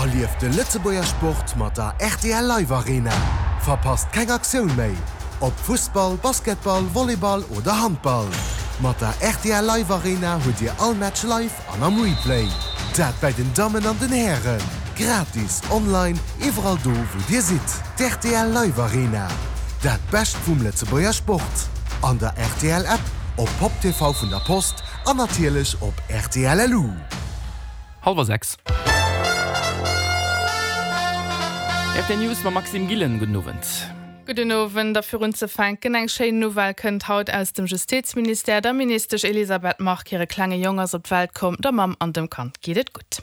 Erlieft de Lëtzebuerger Sport mat der rtl Live Arena. Verpasst keng Aktioun méi, ob Fussball, Basketball, Volleyball oder Handball. Mat der rtl Live Arena hutt Dir all Match live an am Replay. Dat bäi den Dammen an den Hären. Gratis, online, iwwerall do wou Dir sidd. D'rtl Live Arena, dat Bescht vum Lëtzebuerger Sport. An der rtl App, op Pop TV vun der Post an natierlech op rtl LU. Hallwer 6. Rtl News mam Maxime Gillen. Gudden Owend. Gudden Owend. A fir unzefänken, eng schéin Nouvelle kënnt haut aus dem Justizministère. Der Ministesch Elisabeth Margue hire klenge Jong ass op d'Welt komm. Der Mamm an dem Kand geet et gutt.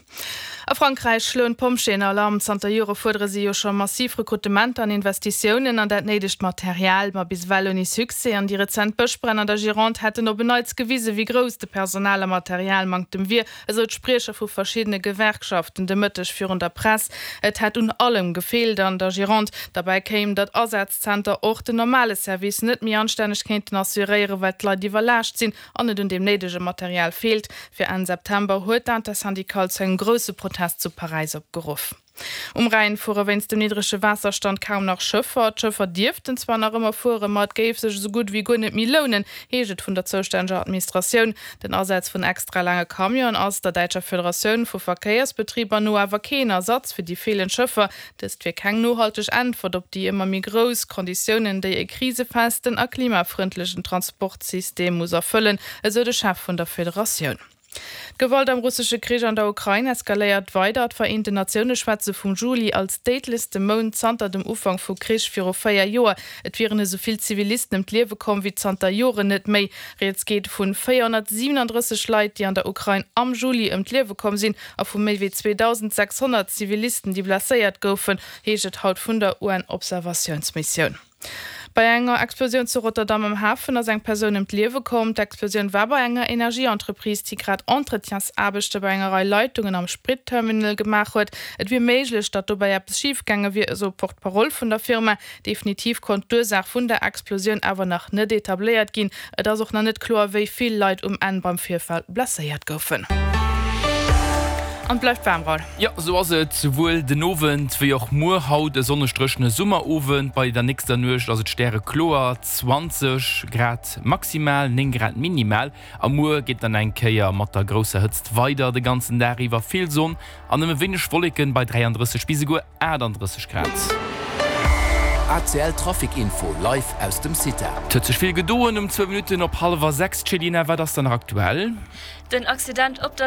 A Frankräich schloen d'Pompjeeën Alarm. Zanter Jore fuerdere si jo scho massiv Rekrutementer an Investitiounen an dat néidegt Material, ma bis ewell ouni Succès. An déi rezent Bëschbränn an der Gironde hätten op en Neits gewisen, wéi grouss de Personal a Materialmanktem wier. Esou d'Spriecher vu verschiddene Gewerkschaften de Mëtteg virun der Press. Et hätt un allem gefeelt an der Gironde. Derbäi kéim, datt Asazzenter och den normale Service net méi anstänneg kéinten assuréieren, well d'Leit iwwerlaascht sinn an et un deem néidege Material feelt. Fir Enn September huet d'Intersyndicale zu engem grousse Protest zu Paräis opgeruff. Um Rhäin fuere wéinst dem niddrege Waasserstand kaum nach Schëffer. D'Schëffer dierften zwar nach ëmmer fueren, ma et géif sech esou gutt ewéi guer net méi lounen, heescht et vun der zoustänneger Administratioun. Den Asaz vun extra laange Camionen ass der däitscher Federatioun vu Verkéiersbetriber no awer keen Ersatz fir déi feelend Schëffer. Dëst wier keng nohalteg Äntwert op déi ëmmer méi grouss Konditiounen, déi e krisefesten a klimafrëndlechen Transportsystem muss erfëllen, esou de Chef vun der Federatioun. D'Gewalt am russesche Krich an der Ukrain eskaléiert weider. D'Vereenten Natioune schwätze vum Juli als déidlechste Mount zanter dem Ufank vu Krich viru 4 Joer. Et wieren esou vill Zivilisten ëm d'Liewe komm wéi zanter Joren net méi. Rieds geet vu 437 Leit, déi an der Ukrain am Juli ëm d'Liewe komm sinn a vu méi wéi 2.600 Zivilisten, déi blesséiert goufen, heescht et haut vun der UN-Observatiounsmissioun. Bei enger Explosioun zu Rotterdam am Hafen ass eng Persoun ëm d'Liewe komm. D'Explosioun war bei enger Energieentreprise, déi grad Entretiensaarbechte bei enger Rei Leitungen am Spritterminal gemaach huet. Et wier méiglech, datt dobäi eppes schif gaange wier, esou e Porte-parole vun der Firma. Definitiv konnt d'Ursaach vun der Explosioun awer nach net etabléiert ginn. Et ass och nach net kloer, wéi vill Leit um Enn beim Virfall blesséiert goufen. An et bleift waarm, Raoul. Jo, sou ass et, souwuel den Owend wéi och muer. Haut e sonneg-dréchene Summerowend, bei der nächster Nuecht ass et stärekloer, 20 Grad maximal, 9 Grad minimal. A muer geet dann eng Kéier mat der grousser Hëtzt weider, de ganzen Dag iwwer vill Sonn an nëmme wéineg Wolleken bei 33 bis esouguer 38 Grad. ACL Trafic Info live aus dem CITA. Et huet sech vill gedoen um zwou Minutten op hallwer 6. Céline, wat ass dann nach aktuell? Den Accident op der.